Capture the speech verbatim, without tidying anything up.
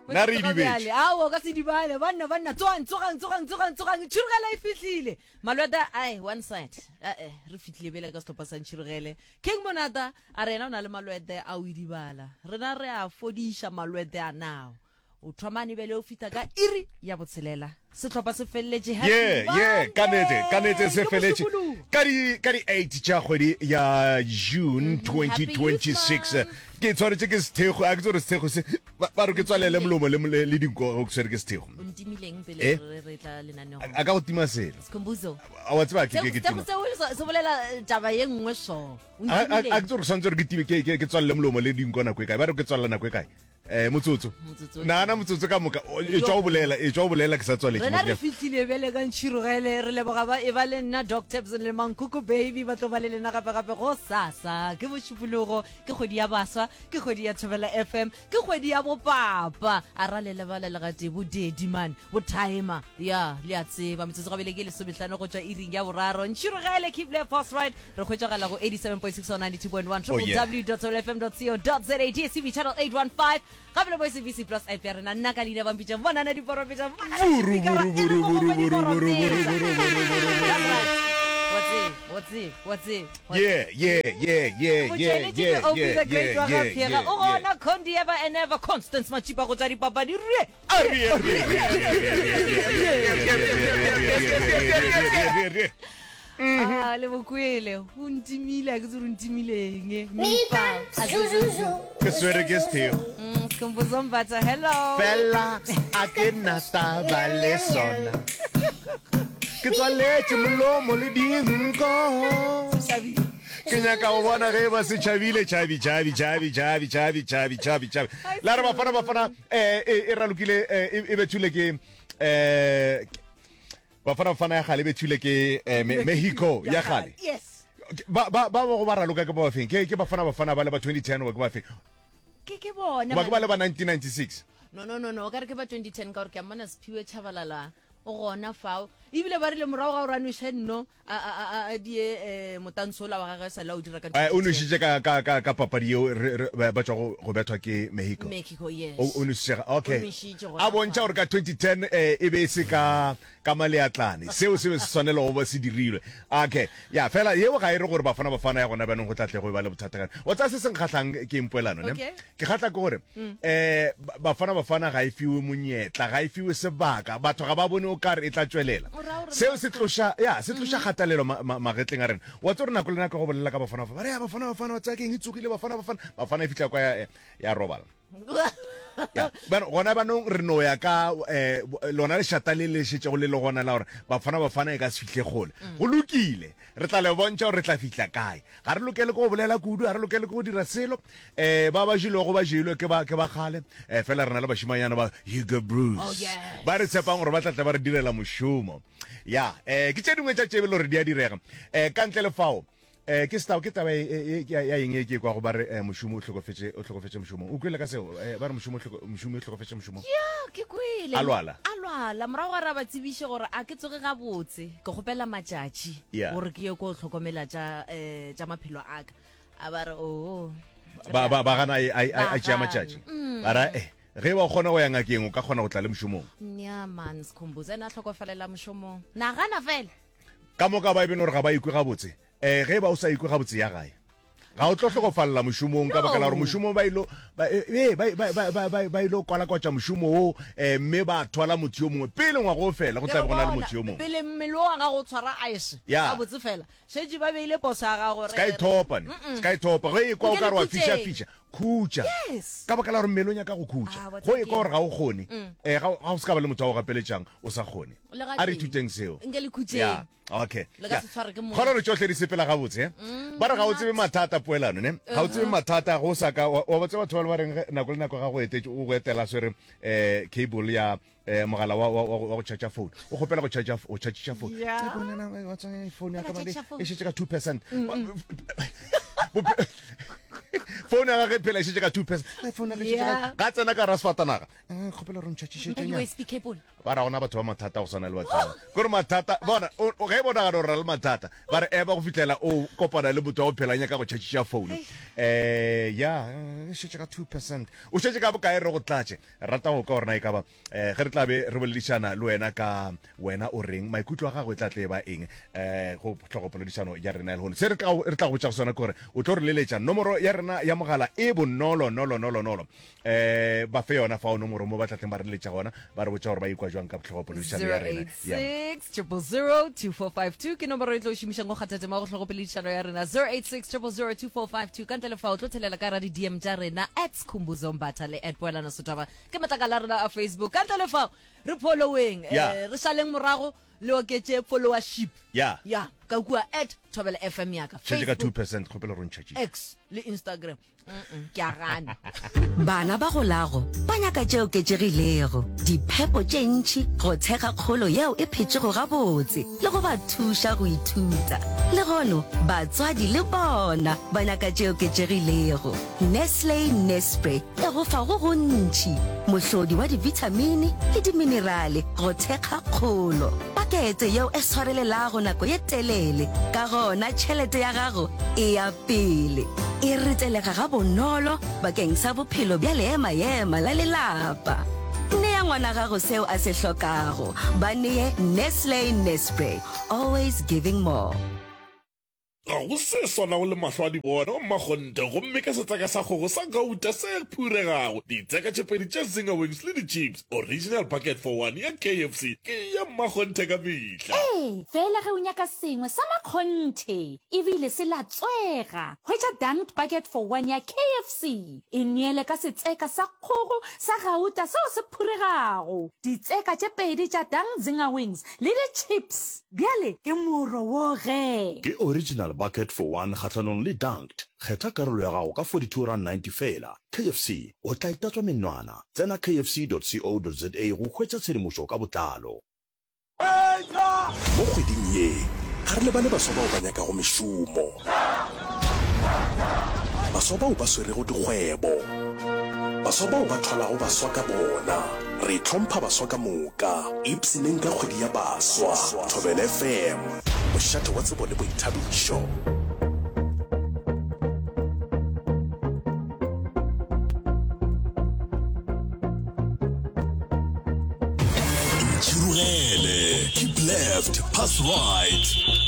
Nna re idibetše. Ao ka se dibale banna banna tsogang tsogang tsogang tsogang tsogang tšhirogele e fihlile malweta ai one side ae re fihlile bele ka sehlopha sa ntšhirogele king monata a re yena o na le malwete a o idibala rena re a fodiša malwete a nao o thomane bele o fihla ka iri ya botshelela sehlopha se feleletše. Happy Ye ye ka nete ka nete se Monday. Ke feletše Mošupologo. ka di ka di eight tša kgwedi ya June Happy twenty twenty-six. Youth Month. Ke tshwanetse ke sethego a ke tsore sethego se ba ba re ke tswalele molomo le le le dinko go ke tshwere ke sethego. O ntimileng pele Eh? re re tla lenaneong. A ka go tima selo. Skhumbuzo. A wa tseba ke ke ke Seo tima. seo se se bolela eh, taba ye nngwe so. O A a- a ntimileng. ke tsore tshwanetse gore ke time ke ke ke tswalele molomo le dinko nako e kae ba re ke tswalela nako e kae eh motsotso Motsotso. nana motsotso ka moka O- e tšwa o bolela e tšwa o bolela ke sa tswaletše Rena re mo- fihlile bjale ka ntšhirogele re leboga ba e ba le nna Doc Tabson le Mankuku Baby ba tlo ba le lena gape-gape go sasa ke bošupologo ke kgwedi ya baswa ke kgwedi ya Thobela F M ke kgwedi ya bopapa a ra le lebala le gate bo daddy man bo timer ya le a tseba metsotso gabele ke lesomehlano go tšwa iring ya boraro ntšhirogele keep left post right re hwetšagala go eighty-seven point six or ninety-two point one Oh, yeah. w w w dot thobela f m dot co dot za D S T V channel eight one five gape le bo S A B C Plus app ya rena nna ka leina ba mpitša bonana diporofeta Buru, buru, buru, buru, buru, buru, buru, buru, buru, buru, buru. Yeah, yeah, yeah, yeah, yeah, yeah, yeah, yeah, yeah, yeah, o yeah. gona Condi ever and ever Constance Machipa go tswa dipapadi re A re, re, re, re, re, re, re, re, re, re. Ah, le bokwele o ntimile a ke tse re ntimileng Ke swere ke sethego. Skhumbuzo Mbatha hello Fela a ke na taba le sona. Ke tswaletše molomo le dinko. Tšhabile. Ke nyaka go bona ge ba se tšhabile tšhabi tšhabi tšhabi tšhabi tšhabi tšhabi tšhabi tšhabi. La re Bafana Bafana eh e e ralokile eh, e e bethule ke eh Bafana Bafana ya gale e bethule ke eh, Me- Mexico ya gale. Yes. Ba ba ba go ba raloka ke ba bafeng? Ke ke Bafana Bafana ba le ba twenty ten ba ke ba feng? Ke ke bona. Ba ke ba le ba nineteen ninety-six. No no no no, o ka re ke ba twenty ten ka gore ke a mmona Siphiwe Tshabalala o gona fao. Ebile ba rile morago ga gore a nweše nno a a a a die eh, motantshola wa gagwe sa la o dira ka Eh, o twenty ten. nwešitše ka ka ka ka papadi yeo re re ba ba tšwa go go bethwa ke Mexico. Mexico yes. O o nwešitše ga- okay. O nwešitše gona A bontšha fao. gore ka twenty ten eh, e be e se ka ka maleatlane. Seo se be se swanela go ba se dirilwe. Okay. Ya fela yeo ga e re gore Bafana Bafana ya gona bjanong go tla tle go e ba le bothata ka. Wa tsaya se se nkgahlang ke mpoelano ne. Okay. Ke kgahla ke gore eh Bafana Bafana ga e fiwe monyetla, ga e fiwe sebaka. Batho ga ba bone o kare e tla tšwelela. O ra gore Seo se tloša ya se tloša kgatelelo ma, ma, magetleng a rena. Wa tseba gore nako le nako go bolela ka Bafana Bafana. Ba re ya Bafana Bafana wa tsaya keng e tsogile Bafana Bafana. Bafana e fihla kwa ya, ya robala. Ya, bano, gona banong re no ya ka eh, lona lešata le le šetšego le le gona la gore Bafana Bafana e ka se fihle kgole. Go lokile, re tla le bontšha gore re tla fihla kae. Ga re lokele ke go bolela kudu, ga re lokele ke go dira selo. Eh, ba ba jelwego ba jelwe ke ba, ke ba kgale. Eh, fela re na le bašimanyana ba Hugo Broos. Oh, yes. Ba re tshepang gore ba tla tla ba re direla mošomo. Ya, eh, ke tše dingwe tša tše e le gore di a direga. Eh, ka ntle le fao, eh, ke setao, ke taba e, e, e, ya eng e ke kwa go ba re, eh, mošomo o hlokofetše, o hlokofetše mošomong. O kwele ka seo? Eh, ba re mošomo o hloko-, mošomo o hlokofetše mošomong. Ya, ke kwele. A lwala. A lwala. Morago ga re ba tsebiše gore a ke tsoge gabotse, ke kgopela matšatši Yeah. gore ke ye ko hlokomela tša, eh, tša maphelo a ka. A ba re, oh. Ba, ba, ba gana a, a, a, a tšea Ba gana. matšatši. Ba ra, eh, ge ba kgona go ya ngakeng, o ka kgona go tla le mošomong. Nya man, Skhumbuzo ena a hlokofalela mošomong. Nagana fela. Ka moka ba e bene gore ga ba ikwe gabotse. Eh, ge ba o sa ikwe gabotse ya gae. Ga o tlo hlokofalela mošomong ka baka la gore No. mošomong ba ilo, ba, eh, eh, ba, ba, ba, ba, ba, ba ilo kwalakwatša mošomo wo, eh, mme ba thwala motho yo mongwe pele ngwaga o fela go tla be go na le motho yo mongwe. Pele mmele wa gago o tshwara ice. Ya. Gabotse fela. Šetše ba beile poso ya gago Se ka ithopa ne. Se ka ithopa. Ge e kwa o Nke ka re wa le fiša khutšeng. fiša. Khutša. Yes. Ka baka la gore mmele o nyaka go khutša. Ah, wa Go e kwa tseba gore ga o kgone. Eh, ga o, ga o se ka ba le motho wa go gapeletšang o sa kgone. Le ga A re teng. ithuteng seo. Nke le khutšeng. Ya. Okay. Le ka Ya. se tshware ke motho. Kgona gore tšohle di sepela gabotse, eh? Ba re ga o tsebe mathata poelano, ne? Ga o tsebe mathata go sa ka wa wa tseba batho ba le ba reng ge nako le nako ga go etetše o go etela swere eh cable ya eh mogala wa wa wa go charge phone. O kgopela go charge go charge phone. Yeah. Ke bona na wa tsaya phone ya ka Ka mane charge phone. e šetše ka two percent. Phone ya gagwe phela e šetše ka two percent. Phone ya gagwe e šetše ka Yeah. ga tsena ka ra sefatanaga. Eh kgopela gore ntšhatšišetše Ka nyana. U S B cable. Ba ra gona batho ba mathata go swana le batho ba. Kore mathata, bona, o, o, ge e bonagala gore ra le mathata, ba re ema go fihlela o kopana le motho wa go phela a nyaka go tšhatšiša phone. Eh, ya, e šetše ka two percent. O šetše ka bokae re go tlatše? Rata go kwa gore na e ka ba, eh, ge re tla be re boledišana le wena ka wena o reng, maikutlo a gago e tla tle e ba eng, eh, go hlogopoledišano ya rena ya lehono. Se re tla, re tla go botšago sona ke gore o tlo re leletša nomoro ya rena ya mogala e bonolo, nolo, nolo, nolo. Eh, ba fe yona fao nomoro mo ba tla tleng ba re leletša gona, ba re botša gore ba ikwa jwang ka hlogopoledišano ya rena ya. zero eight six, triple zero, two four five two ke nomoro e tlo šomišang go kgatha tema go hlogopoledišano ya rena. zero eight six, triple zero, two four five two. Ka ntle le fao, tlo thelela ka ra di-D M tša rena at Skhumbuzo Mbatha le at Poelano Sotaba ke matlakala a rena a Facebook. Ka ntle le fao, re following, Ya. eh, re šaleng morago le oketše followership. Ya. Ya, ka kua at Thobela F M ya ka. Tšhetše ka Facebook, two percent, kgopelo re ntšhatše. X le Instagram. Mm-mm, ke a gana. Bana ba golago ba nyaka tše oketšegilego, diphepo tše ntši go thekga kgolo yeo e phetšego gabotse le go ba thuša go ithuta. Lehono, batswadi le bona ba nyaka tše oketšegilego. Nestle Nespre e go fa go gontši, mohlodi wa dibithamini le diminerale go thekga kgolo. Pakete yeo e swarelelago nako ye telele, ka gona tšhelete ya gago e ya pele. E retelega gabonolo bakeng sa bophelo bja leema-ema la lelapa. Nea ngwana gago seo a se hlokago. Ba nee Nestle Nespre, always giving more. Ga go se swanago le mahlo a di bona mmakgonthe, gomme ka setseka sa kgogo sa gauta se phuregago, ditseka tše pedi tša Zinger Wings le di-chips, original bucket for one ya K F C ke ya mmakgonthe ka mehla. Ee, fela ge o nyaka sengwe sa makgonthe ebile se latswega, hwetša Dunked Bucket for one ya K F C. E neele ka setseka sa kgogo sa gauta seo se phuregago, ditseka tše pedi tša Dunked Zinger Wings le di-chips. Bjale ke moro wo ge. Ke original bucket for one kgahlanong le Dunked. Kgetha karolo ya gago ka forty-two rand ninety feela. K F C, o tla itatswa menwana. Tsena K F C dot co dot za go hwetša tshedimošo ka botlalo. Mo kgweding ye, ga re lebale baswa bao ba nyakago mešomo, baswa bao ba swerego dikgwebo, baswa bao ba thwalago baswa ka bona. Re hlompha baswa ka moka. Ipshineng ka kgwedi ya baswa. Thobela F M, mošate wa tsebo le boithabišo. Ntšhirogele, keep left, pass right.